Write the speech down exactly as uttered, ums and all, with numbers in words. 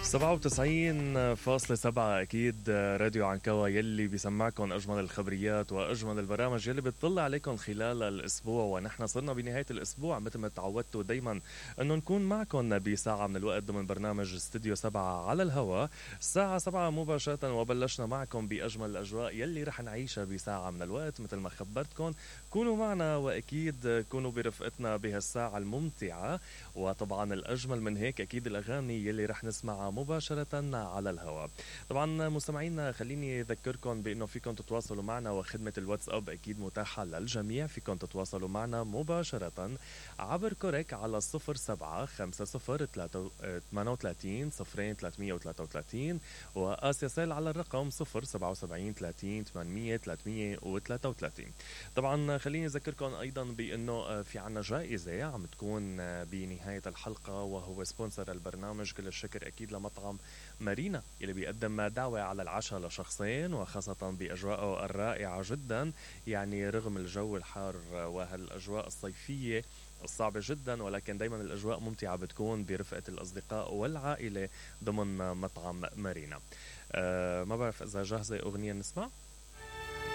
سبعة وتسعين فاصلة سبعة أكيد راديو عنكوا يلي بيسمعكم أجمل الخبريات وأجمل البرامج يلي بتطلع عليكم خلال الأسبوع. ونحن صرنا بنهاية الأسبوع مثل ما تعودتوا دايما أنه نكون معكم بساعة من الوقت ضمن برنامج استوديو سبعة على الهواء الساعة سبعة مباشرة. وبلشنا معكم بأجمل الأجواء يلي رح نعيشها بساعة من الوقت مثل ما خبرتكم. كونوا معنا وأكيد كونوا برفقتنا بهالساعة الممتعة. وطبعا الأجمل من هيك أكيد الأغاني يلي رح نسمعها مباشرة على الهواء. طبعا مستمعينا خليني أذكركم بأنه فيكم تتواصلوا معنا وخدمة الواتساب أكيد متاحة للجميع. فيكم تتواصلوا معنا مباشرة عبر كوريك على صفر سبعة خمسة صفر ثمانية وثلاثين صفرين ثلاثمية وثلاثة وثلاثين وآسياسيل على الرقم صفر سبعة وسبعين ثلاثين ثمانمية ثلاثمية وثلاثة وثلاثين. طبعا خليني أذكركم أيضا بأنه في عنا جائزة عم تكون بنهاية الحلقة وهو سبونسر البرنامج. كل الشكر أكيد لمطعم مارينا اللي بيقدم دعوة على العشاء لشخصين وخاصة بأجواءه الرائعة جدا. يعني رغم الجو الحار وهالأجواء الصيفية الصعبة جدا ولكن دايما الأجواء ممتعة بتكون برفقة الأصدقاء والعائلة ضمن مطعم مارينا. أه ما بعرف إذا جاهزة أغنية نسمع.